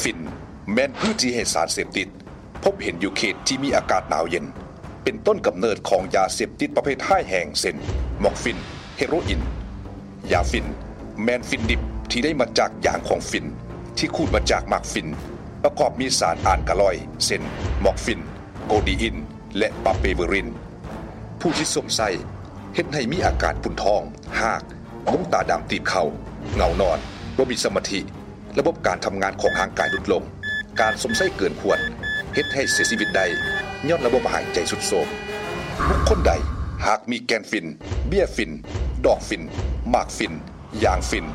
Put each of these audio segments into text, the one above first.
ຝິ່ນ ແມ່ນພື້ນທີ່ໃຫ້ສານເສບຕິດ ພົບເຫັນຢູ່ເຂດທີ່ມີອາກາດໜາວເຢັນ ເປັນຕົ້ນກຳເນີດຂອງຢາເສບຕິດປະເພດຮ້າຍແຮງ ເຊັ່ນ ມອກຟິນ, ເຮໂຣອິນ. ຢາຝິ່ນ ແມ່ນຝິ່ນດິບທີ່ໄດ້ມາຈາກຢາງຂອງຝິ່ນ ທີ່ຂູດມາຈາກໝາກຝິ່ນ ປະກອບມີສານອານກາລອຍ ເຊັ່ນ ມອກຟິນ, ໂກດີອິນ ແລະ ປາເປເວີຣິນ. ຜູ້ທີ່ສວມໃຊ້ ເຮັດໃຫ້ມີອາການປຸ້ນທ້ອງ, ຮາກ, ດວງຕາດຳຕີບເຂົ້າ, ເຫງົານອນ, ບໍ່ມີສະມາທິ, ລະບົບການທຳງານຂອງຮ່າງກາຍຫຼຸດລົງ, ການສວມໃຊ້ເກີນຄວນ ເຮັດໃຫ້ເສຍຊີວິດໄດ້ ຍ້ອນລະບົບຫາຍໃຈຊຸດໂຊມ. ບຸກຄົນໃດຫາກມີແກ່ນຝິ່ນ, ເບ້ຍຝິ່ນ, ດອກຝິ່ນ, ໝາກຝິ່ນ, ຢາງຝິ່ນ,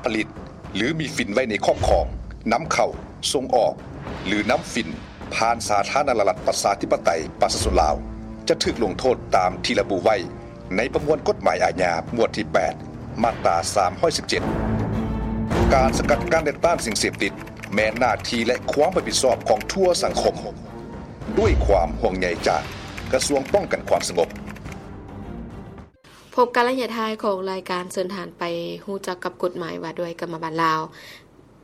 ຜະລິດ ຫຼື ມີຝິ່ນໄວ້ໃນຄອບຄອງ, ນຳເຂົ້າ, ສົ່ງອອກ ຫຼື ນຳຝິ່ນ ຜ່ານສາທາລະນະລັດ ປະຊາທິປະໄຕ ປະຊາຊົນລາວ ຈະຖືກລົງໂທດຕາມທີ່ລະບຸໄວ້ໃນປະມວນກົດໝາຍອາຍາ ໝວດທີແປດ ມາດຕາສາມຮ້ອຍສິບເຈັດ. ການສະກັດກັ້ນ ແລະ ຕ້ານສິ່ງເສບຕິດ ແມ່ນໜ້າທີ່ ແລະ ຄວາມຮັບຜິດຊອບຂອງທົ່ວສັງຄົມ. ດ້ວຍຄວາມຫ່ວງໃຍຈາກກະຊວງປ້ອງກັນຄວາມສະຫງົບ. ພົບກັນໄລຍະທ້າຍຂອງລາຍການເຊີນທ່ານໄປຮູ້ຈັກກັບກົດໝາຍວ່າດ້ວຍກຳມະບານລາວ.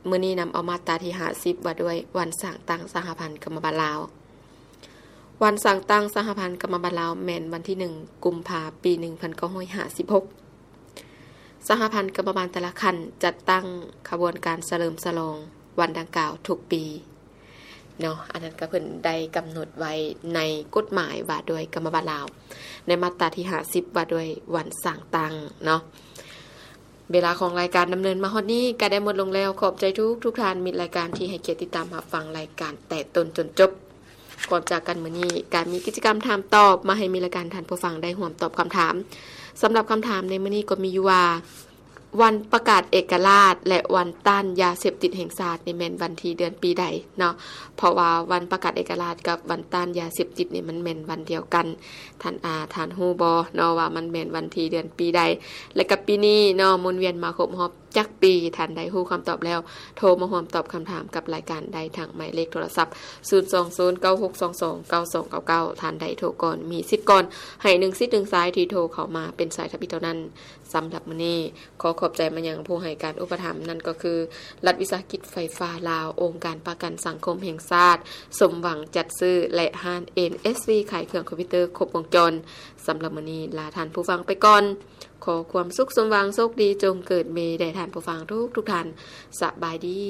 ມື້ນີ້ນຳເອົາມາດຕາທີຫ້າສິບ ວ່າດ້ວຍວັນສ້າງຕັ້ງສະຫະພັນກຳມະບານລາວ. ວັນສ້າງຕັ້ງສະຫະພັນກຳມະບານລາວແມ່ນວັນທີໜຶ່ງ ກຸມພາ ປີໜຶ່ງພັນເກົ້າຮ້ອຍຫ້າສິບຫົກ. ສະຫະພັນກຳມະບານແຕ່ລະຂັ້ນຈັດຕັ້ງຂະບວນການສະເຫຼີມສະຫຼອງວັນດັ່ງກ່າວທຸກປີເນາະ. ອັນນັ້ນກໍເພິ່ນໄດ້ກຳນົດໄວ້ໃນກົດໝາຍວ່າດ້ວຍກຳມະບານລາວ ໃນມາດຕາທີຫ້າສິບ ວ່າດ້ວຍວັນສ້າງຕັ້ງເນາະ. ເວລາຂອງລາຍການດຳເນີນມາຮອດນີ້ກໍໄດ້ໝົດລົງແລ້ວ. ຂອບໃຈທຸກໆທ່ານ ມິດລາຍການທີ່ໃຫ້ກຽດຕິດຕາມຮັບຟັງລາຍການແຕ່ຕົ້ນຈົນຈົບ. ກ່ອນຈາກກັນມື້ນີ້ ກະມີກິດຈະກຳຖາມຕອບມາໃຫ້ມິດລາຍການທ່ານຜູ້ຟັງໄດ້ຮ່ວມຕອບຄຳຖາມ. ສຳລັບຄຳຖາມໃນມື້ນີ້ກໍມີຢູ່ວ່າ ວັນປະກາດເອກະລາດ ແລະ ວັນຕ້ານຢາເສບຕິດແຫ່ງຊາດນີ້ແມ່ນວັນທີເດືອນປີໃດເນາະ? ເພາະວ່າວັນປະກາດເອກະລາດກັບວັນຕ້ານຢາເສບຕິດນີ້ມັນແມ່ນວັນດຽວກັນ. ທ່ານ ອາ ທ່ານຮູ້ບໍ່ເນາະວ່າມັນແມ່ນວັນທີເດືອນປີໃດ? ແລະ ກັບປີນີ້ເນາະ ໝູນວຽນມາຄົບຮອບຈັກປີ? ທ່ານໃດຮູ້ຄຳຕອບແລ້ວ ໂທມາຮ່ວມຕອບຄຳຖາມກັບລາຍການໄດ້ທາງໝາຍເລກໂທລະສັບ ສູນສອງສູນ ເກົ້າຫົກສອງສອງ ເກົ້າສອງເກົ້າເກົ້າ. ທ່ານໃດໂທກ່ອນ ມີສິດກ່ອນ ໃຫ້ໜຶ່ງສິດໜຶ່ງສາຍທີ່ໂທເຂົ້າມາເປັນສາຍທຳອິດເທົ່ານັ້ນ. ສຳລັບມື້ນີ້ ຂໍຂອບໃຈມາຍັງຜູ້ໃຫ້ການອຸປະຖຳ ນັ້ນກໍຄື ລັດວິສາຫະກິດໄຟຟ້າລາວ, ອົງການປະກັນສັງຄົມແຫ່ງຊາດ, ສົມຫວັງຈັດຊື້ ແລະ ຮ້ານ ເອັນ ເອສ ວີ ຂາຍເຄື່ອງຄອມພິວເຕີຄົບວົງຈອນ. ສຳລັບມື້ນີ້ ລາທ່ານຜູ້ຟັງໄປກ່ອນ. ຂໍຄວາມສຸກສົມຫວັງ ໂຊກດີຈົ່ງເກີດມີແດ່ທ່ານຜູ້ຟັງທຸກໆທ່ານ. ສະບາຍດີ.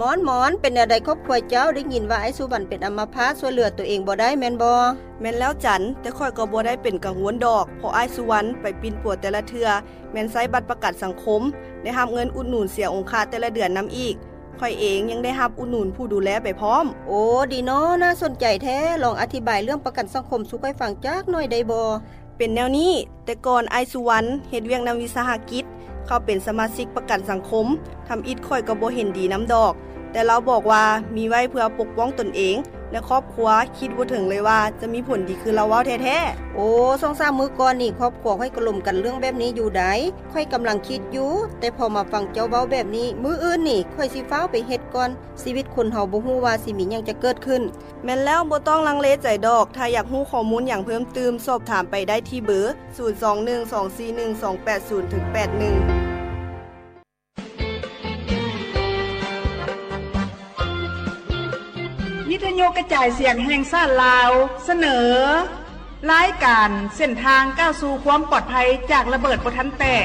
ໝອນ, ໝອນ, ເປັນແນວໃດຄອບຄົວເຈົ້າ? ໄດ້ຍິນວ່າອ້າຍສຸວັນເປັນອຳມະພາດ, ຊ່ວຍເຫຼືອຕົວເອງບໍ່ໄດ້ແມ່ນບໍ່? ແມ່ນແລ້ວຈັນ, ແຕ່ຂ້ອຍກໍບໍ່ໄດ້ເປັນກັງວົນດອກ, ເພາະອ້າຍສຸວັນໄປປິ່ນປົວແຕ່ລະເທື່ອ ແມ່ນໃຊ້ບັດປະກັນສັງຄົມ, ໄດ້ຮັບເງິນອຸດໜູນເສຍອົງຄະແຕ່ລະເດືອນນຳອີກ. ຂ້ອຍເອງຍັງໄດ້ຮັບອຸດໜູນຜູ້ດູແລໄປພ້ອມ. ໂອ້ ດີເນາະ, ໜ້າສົນໃຈແທ້. ລອງອະທິບາຍເລື່ອງປະກັນສັງຄົມສູ່ຂ້ອຍຟັງຈັກໜ້ອຍໄດ້ບໍ່? ເປັນແນວນີ້, ແຕ່ກ່ອນອ້າຍສຸວັນເຮັດວຽກນຳວິສາຫະກິດ, ເຂົາເປັນສະມາຊິກປະກັນສັງຄົມ, ທຳອິດຂ້ອຍກໍບໍ່ເຫັນດີນຳດອກ, ແຕ່ລາວບອກວ່າມີໄວ້ເພື່ອປົກປ້ອງຕົນເອງ ແລະ ຄອບຄົວ, ຄິດບໍ່ເຖິງເລີຍວ່າຈະມີຜົນດີຄືລາວເວົ້າແທ້ໆ. ໂອ້ ສອງສາມມື້ກ່ອນນີ້ ຄອບຄົວຂ້ອຍກໍລົມກັນເລື່ອງແບບນີ້ຢູ່ໃດ໋. ຂ້ອຍກຳລັງຄິດຢູ່, ແຕ່ພໍມາຟັງເຈົ້າເວົ້າແບບນີ້, ມື້ອື່ນນີ້ຂ້ອຍຊິຟ້າວໄປເຮັດກ່ອນ. ຊີວິດຄົນເຮົາບໍ່ຮູ້ວ່າຊິມີຫຍັງຈະເກີດຂຶ້ນ. ແມ່ນແລ້ວ, ບໍ່ຕ້ອງລັງເລໃຈດອກ. ຖ້າຢາກຮູ້ຂໍ້ມູນຫຍັງເພີ່ມຕື່ມ, ສອບຖາມໄປໄດ້ທີ່ເບີ ສູນສອງໜຶ່ງສອງສີ່ໜຶ່ງສອງແປດສູນເຖິງແປດໜຶ່ງ. ວິທະຍຸກະຈາຍສຽງແຫ່ງຊາດລາວ ສະເໜີ ລາຍການເສັ້ນທາງກ້າວສູ່ຄວາມປອດໄພຈາກລະເບີດບໍ່ທັນແຕກ.